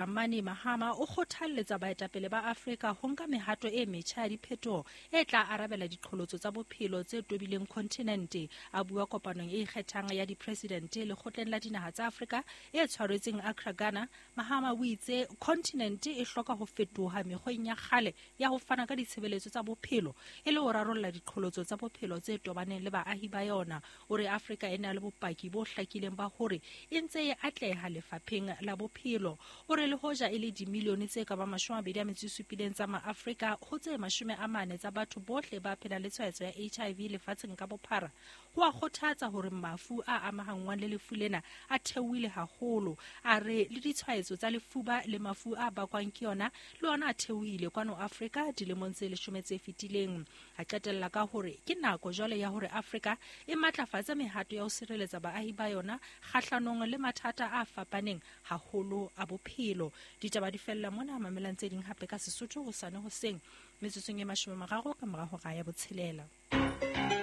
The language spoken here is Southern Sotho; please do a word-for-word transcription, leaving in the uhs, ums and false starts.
Dramani Mahama o kgothalletsa baetapele ba Afrika ho nka mehato e metjha ya diphetoho e tla arabela diqholotso tsa bophelo tse tobileng kontinente. A bua kopanong e ikgethang ya dipresidente lekgotleng la dinaha tsa Afrika e tshwaretsweng Accra, Ghana, Mahama o itse kontinente e hloka ho fetoha mekgweng ya kgale ya ho fana ka ditshebeletso tsa bophelo e le ho rarolla diqholotso tsa bophelo tse tobaneng le baahi ba yona. O re Afrika e na le bopaki bo hlakileng ba hore e ntse e atleha lefapheng la bophelo. O re le hoja e le dimilione tse ka bang mashome a mabedi a metso e supileng tsa maAfrika ho tse mashome a mane tsa batho bohle ba phelang le tshwaetso ya H I V lefatsheng ka bophara, ho a kgothatsa hore mafu a amahanngwang le lefu lena a theohile haholo. A re le ditshwaetso tsa lefuba le mafu a bakwang ke yona le ona a theohile kwano Afrika dilemong tse leshome tse fetileng. A qetella ka hore ke nako jwale ya hore Afrika e matlafatse mehato ya ho sireletsa baahi ba yona kgahlanong le mathata a fapaneng haholo a bophelo. Ditaba di fella mona, mamelang tse ding hape ka Sesotho hosane hoseng metsotsong e mashome a mararo ka mora hora ya botshelela.